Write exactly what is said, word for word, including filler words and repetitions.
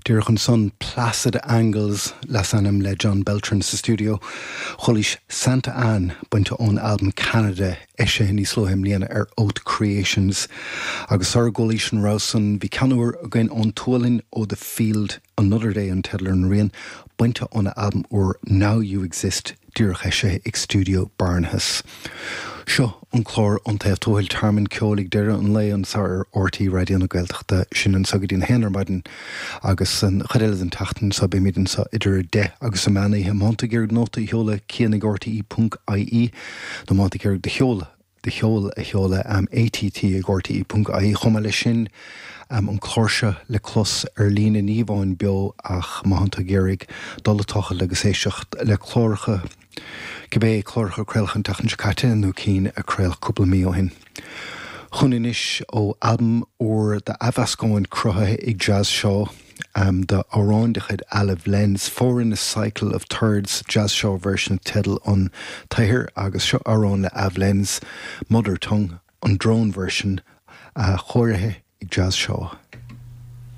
Díreach ansan Placid Angles leasainm le John Beltran sa stiúideo. Chualaís Santa Anne bainte ón albam Canada eisithe níos luaithe i mbliana ar Oath Creations. Agus sara gcualaís an rogha san bhí ceann úr againn ón tSualainn ó The Field Another Day an teideal ar an rian bainte óna albam úr Now You Exist díreach eisithe ag Studio Barnahus. Seo an clár An Taobh Tuathail Tearmann Ceoil ag deireadh an lae anseo ar RTÉ Raidió na Gaeltachta sin anseo go dtí a haon ar maidin agus an chuid eile den tseachtain so beimid anseo idir deich agus a meán oíche má tá tú ag iarraidh nóta a sheoladh cian ag RTE ponc IE nó má tá tú ag iarraidh do sheoladh do cheol a sheoladh um, ATT ag RTE ponc IE chomh maith leis sin um, an clár seo le clos ar líne ní amháin beo ach má tá tú ag iarraidh dul ag tochailt agus éisteacht le cláracha cibé cláracha a craoladh an tseachtain seo caite nó cinn a craoladh cúpla mí ó shin. Chun anois ó albam úr d'athmheascáin cruthaithe ag Jazz Shaw um, de amhrán de chuid Olive Lenz, Four in a Cycle of Thirds Jazz Shaw version teideal an tsaothair agus seo amhrán le Av Lenz, Mother Tongue an drone version a uh, chóirithe ag Jazz Shaw.